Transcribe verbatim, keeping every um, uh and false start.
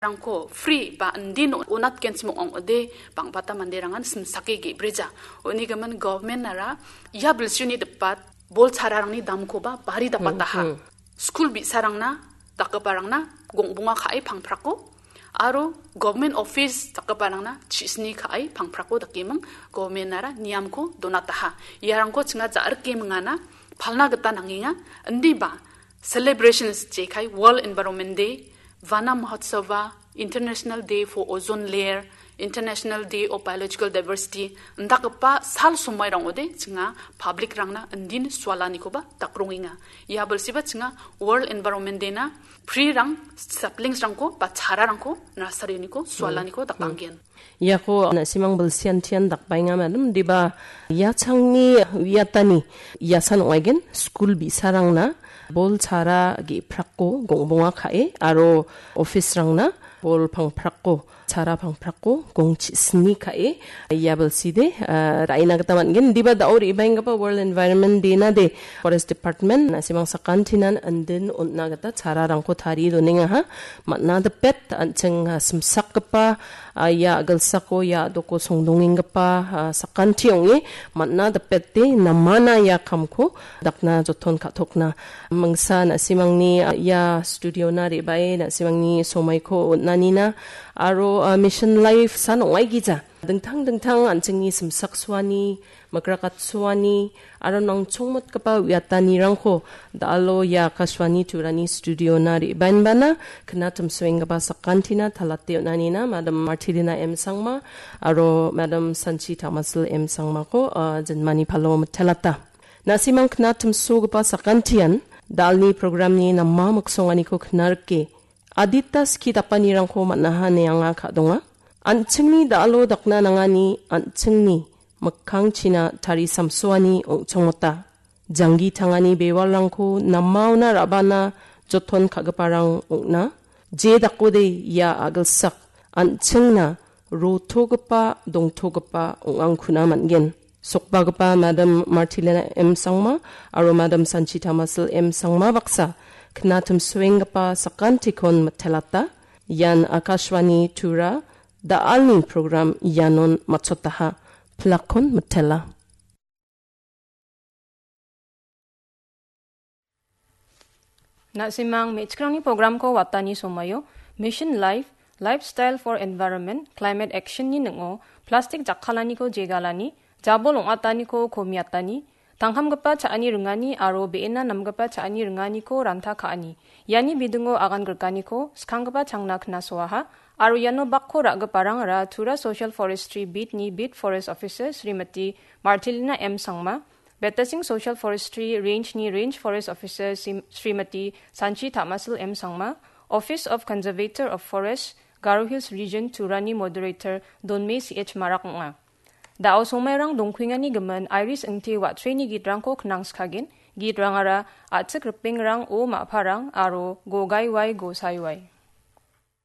rangko free ba indin onatgenchim ong·ode bang·bata manderangan simsake ge·breja. Unigimin government-ara ia bilsioni dipat bol chararangni damkoba bari dapataha. Hmm, hmm. Skul bi·sarangna dakgiparangna gongbonga ka·e pangprako aro government office dakgiparangna chisni ka·e pangprako dakeming government-ara niamko donataha. Iarangko chinga ja·rike mingana palna gita nangenga. Indiba celebrations jekai World Environment Day, Vana Mahotsava, International Day for Ozone Layer, International Day of Biological Diversity, indakgipa sal somoirangode chinga public-rangna indin sualanikoba dakrongenga. Ia bilsiba chinga World Environment Day-na pre-rang, saplings-rangko ba chararangko nasarioniko sualaniko dakanggen. Iako na·simang bilsiantian dakbaenga, madam. Diba iachangni uiatani iasan ong·aigen skul bi·sarangna bol chara ge·prako gongbonga ka·e aro office-rangna bol pangprako, chara pangprako gongchi sni ka·e ia bilside, ah, ra·ina gita man·gen. Diba da·o re·baenggipa World Environment Day-na de Forest Department na·simang sakantinan indin on·na gita chararangko tarie donengaha. Man·a dipet an·ching, ah, simsakgipa, ah, ia a·gilsako, ia a·doko songdongenggipa, ah, sakanti ong·e man·a dipete namana ia kamko dakna joton ka·tokna. Mingsa na·simangni, ah, ia studio-na re·bae na·simangni somaiko on·anina aro, ah, Mission Life san ong·aigija. Dingtang dingtang an·chingni simsaksoani, mikrakatsoani aro nangchongmotgipa uiatanirangko da·alo ia Akashvani Turani studio-na re·baenbana knatimsoenggipa sakantina talate on·anina Madam Martilina M Sangma aro Madam Sanchi Tamasil M Sangmako, ah, jinmani palo mitelata. Na·simang knatimsogipa sakantian da·alni programni nama miksonganiko knarike adita skie dapanirangko man·aha ine anga ka·donga. An·chingni da·alo dakna nangani an·chingni mikkangchina tarisamsoani ong·chongmota. Janggi tangani bewalrangko namaona ra·bana joton ka·giparang ong·na. Je dakode ia a·gilsak an·chingna rotogipa, dongtogipa ong·angkuna man·gen. Sokbagipa Madam Martilina M Sangma aro Madam Sanchita Masil M Sangma baksa knatimsoenggipa sakantikon mitelata. Ian Akashvani Tura da·alni program ianon matchotaha. Plakkon mitela. Na·simang me·chikrangni programko watani somaio Mission Life, Lifestyle for Environment, Climate Action-ni ning·o plastik jakkalaniko jegalani, jabol ong·ataniko komiatani, tangkamgipa cha·ani ringani aro be·ena namgipa cha·ani ringaniko ranta ka·ani. Iani bidingo agan grikaniko skanggipa changna knasoaha, aro iano bakko ra·giparangara Tura Social Forestry Beat-ni Beat Forest Officer Srimati Martilina M Sangma, Betasing Social Forestry Range-ni Range Forest Officer Sim-, Srimati Sanchi Tamasil M Sangma, Office of Conservator of Forest, Garo Hills Region Turani Moderator Donme C H Marak ong·a. Da·o somairang dongkuengani gimin Iris Ingti Watreni gitrangko knangskagen, gitrangara A·chik Ripengrang, O Ma·parang aro Gogaiwai Gosaiwai.